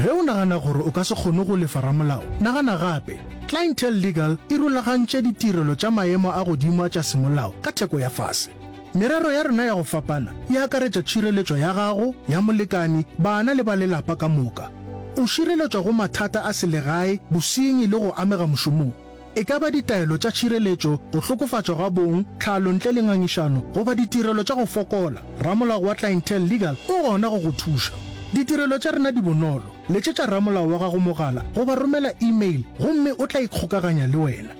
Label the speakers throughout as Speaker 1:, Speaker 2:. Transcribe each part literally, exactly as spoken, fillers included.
Speaker 1: Ge o nagana gore o ka se kgone go lefa ramolao, nagana gape. Clientele Legal e rulagantše ditirelo tša maemo a godimo a tša semolao ka theko ya fase. Merero ya rena ya go fapana e akaretša tšhireletšo ya gago, ya molekani, bana le ba lelapa ka moka. O šireletšwa go mathata a selegae, bosenyi le go amega mošomong. E ka ba ditaelo tša tšhireletšo, go hlokofatšwa ga bong, tlhalo ntle le ngangišano, goba ditirelo tša go fokola, ramolao wa Clientele Legal o gona go go thuša. Ditirelo tša rena di bonolo. Letšetša ramolao wa gago mogala goba romela email gomme o tla ikgokaganya le wena.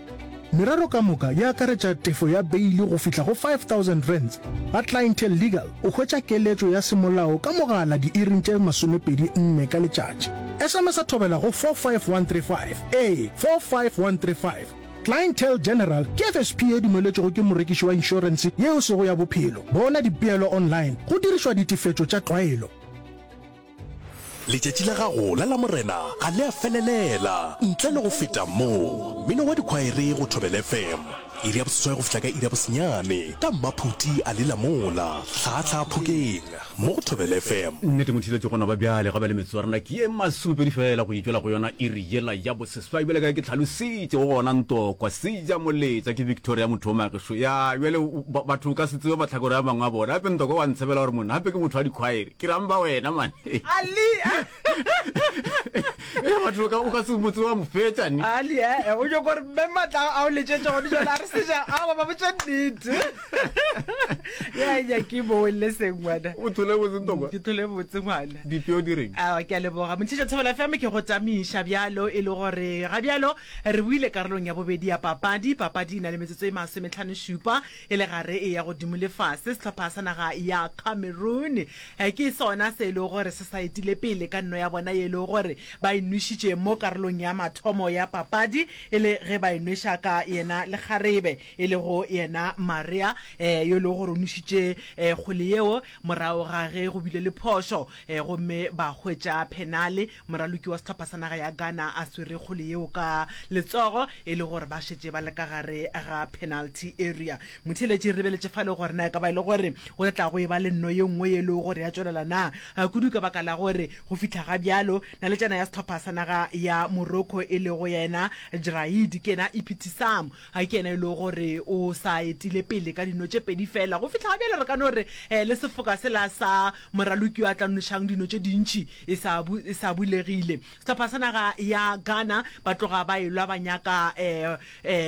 Speaker 1: Merero ka moka e akaretša tefo ya beili go fihla go five thousand rands. Ga Clientele Legal o hwetša keletšo ya semolao ka mogala diiring tše masomepedi nne ka letšatši. S M S Thobela go four five one three five. Ee, four five one three five. Clientele General ke F S P ye dumeletšwego ke morekiši wa inšorense ye e sego ya bophelo. Bona dipeelo online go dirišwa ditefetšo tša tlwaelo.
Speaker 2: Letšatši la gago la Lamorena ga le a felelela ntle le go feta mo. Mmino wa dikhwaere go Thobela F M, iri ya boseswai go fihla ka iri ya bosenyane, ka Mmaphuti a lela mola, Hlaahlaa Phokeng, mo go Thobela F M.
Speaker 3: Nnete motheeletši gona ba bjale ga ba le metsotso ya rena ke ye masomepedi fela go itšwela go yona iri yela ya boseswai bjale ka ge ke hlalositše go gona ntokwa seja moletša ke Victoria motho o magešo ya bjale batho o ka se tsebe mahlakore a mangwe a bona gape ntokwa wa ntshebela gore monna gape ke motho wa dikhwaere ke ramba wena mane
Speaker 4: Ali
Speaker 3: e batho ka o ka se motse wa mo fetša ni
Speaker 4: Ali eh o nyoko gore mme matla a o letšetše gone jale a re seja a ba ba botša nnete ya ya ke boelle sengwana.
Speaker 3: O thole botse ntokwa.
Speaker 4: Ke thole botse ngwana.
Speaker 3: Dipeo di reng?
Speaker 4: A ke a leboga montšhetša Thobela F M ke go tamiša bjalo e le gore ga bjalo re buile karolong ya bobedi ya papadi. Papadi e na le metsotso e masometlhano šupa e le gare e ya godimo le fase. Sehlopha sa naga ya Cameroon ke sona se e lego gore se sa etile pele ka nno ya bona ye e lego gore ba e nwešitše mo karolong ya mathomo ya papadi e le ge ba e nweša ka yena lekgarebe e lego yena Maria yo e lego gore o nwešitše kgwele yeo morago ga ge go bile le phošo gomme ba hwetša phenale. Moraloki wa sehlopha sa naga ya Ghana a swere kgwele yeo ka letsogo e le gore ba šetše ba le ka gare ga penalty area. Motheeletši re lebeletše fale gore na e ka ba e le gore go tla go e ba le nno ye nngwe ye e lego gore ya tšwelela na, kudu ka baka la gore go fihla ga bjalo naletšana ya sehlopha sa naga ya Morocco e lego yena Jraidi ke yena Iptisaam ke yena e lego gore o sa etile pele ka dino tše pedi fela. Go fihla ga bjale re ka no re le sefoka sela sa moraloki yo a tla nwešang dino tše dintši e sa e sa bulegile. Sehlopha sa naga ya Ghana ba tloga ba elwa ba nyaka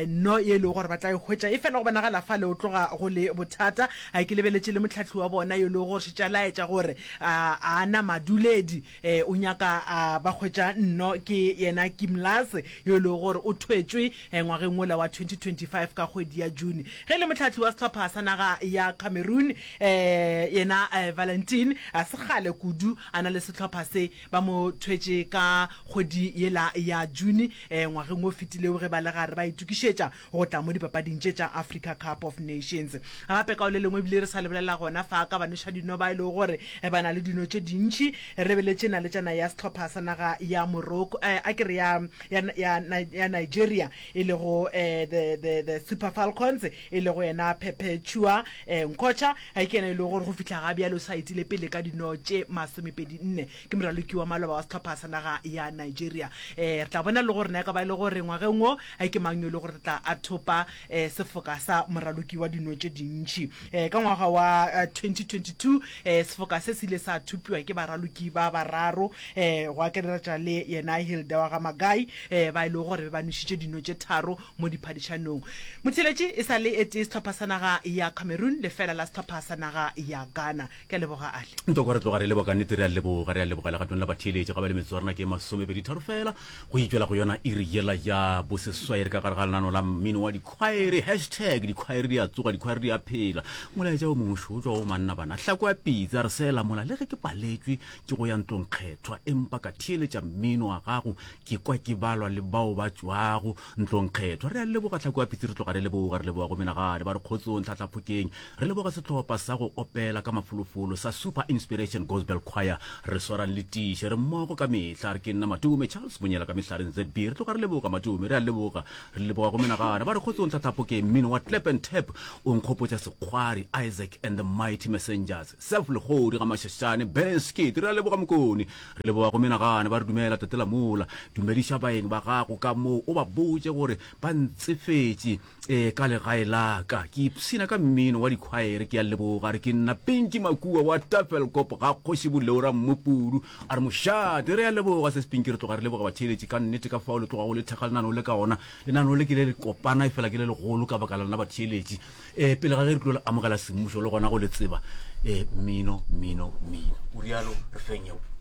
Speaker 4: no ye e lego gore ba tla e hwetša, efela go bonagala fale o tloga go le bothata. Ke lebeletše le mohlahli wa bona yo e lego gore šetše a laetša gore a na maduledi o nyaka ba hwetša nno ke yena Kimlas yo e lego gore o thwetšwe ngwageng wola wa twenty twenty five ka kgwedi ya June. Ge e le mohlahli wa sehlopha sa naga ya Cameroon yena Valentin a se kgale kudu a na le sehlopha se, ba mo thwetše ka kgwedi yela ya June ngwageng o fetilego ge ba le gare ba itokišetša go tla mo dipapading tše tša Africa Cup of Nations. Gape ka o le lengwe ebile re sa lebelela gona fa ka banwešadino ba e lego gore ba na le dino tše dintši, re lebeletše naletšana ya sehlopha sa naga ya Morocco a ke re ya ya ya ya Nigeria e lego the the the Super Falcons e lego yena Perpetua Nkwocha ke yena e lego gore go fihla ga bjale o sa etile pele ka dino tše masomepedi nne, ke moraloki wa maloba wa sehlopha sa naga ya Nigeria. Re tla bona le gore na e ka ba e le gore ngwageng wo ke mang yo e le gore tla a thopa sefoka sa moraloki wa dino tše dintši. Ka ngwaga wa twenty twenty two sefoka se se ile sa thopiwa ke baraloki ba bararo go akaretša le yena Hilda wa ga Magai ba e lego gore be ba nwešitše dino tše tharo mo diphadišanong. Motheeletši e sa le e tee sehlopha sa naga ya Cameroon lefela la sehlopha sa naga ya Ghana. Ke a leboga Ale.
Speaker 3: Ntoko re tloga re leboga ka nnete, re a leboga, re a leboga legatong la batheeletši. Ga ba le metsotso ya rena ke masomepedi tharo fela go itšwela go yona iri yela ya boseswai. Re ka gare ga lenano la mmino wa dikhwaere, hashtag dikhwaere di a tsoga, dikhwaere di a phela. Molaetša o mongwe šo o tšwa go manna bana hlako ya pitsa re sela mola le ge ke paletšwe ke go ya ntlong kgethwa empa ka theeletša mmino. mmino wa gago ke kwa ke balwa le bao ba tšwago ntlongkgethwa. Re a leboga Tlhako ya Pitsi, re tloga re leboga, re leboga go menagane ba re kgotsong Tlhatlhaphokeng. Re leboga sehlopha sa go opela ka mafolofolo sa Super Inspiration Gospel Choir. Re swarang le tiiše, re mmogo ka mehla. Re ke nna Matome Charles Monyela ka mehlareng Z B. Re tloga re leboga Matome, re a leboga, re leboga go menagane ba re kgotsong Tlhatlhaphokeng. Mmino wa Clap and Tap o nkgopotša Sekgwari, Isaac and the Mighty Messengers, Self Legodi ga Mashashane, Benskit. Re a leboga Mokone, re leboga go menagane ba re dumela Tate Lamola. Dumediša baeng ba gago ka moo, o ba botše gore ba ntsefetše e ka legae la ka. Ke ipshina ka mmino wa dikhwaere, ke a leboga. Re ke nna Pinky Makua wa Tafelkop ga Kgoši Boleora Mmupudu. A re mošate, re a leboga Sis Pinky, re tloga re leboga batheeletši ka nnete ka fao le tlogago le thekga lenaneo le ka ona. Lenaneo le ke le le kopana efela ke le legolo ka baka la lena batheeletši. E, pele ga ge re tlo le amogela semmušo le gona go le tseba, e, mmino, mmino, mmino. O rialo, re feng yeo.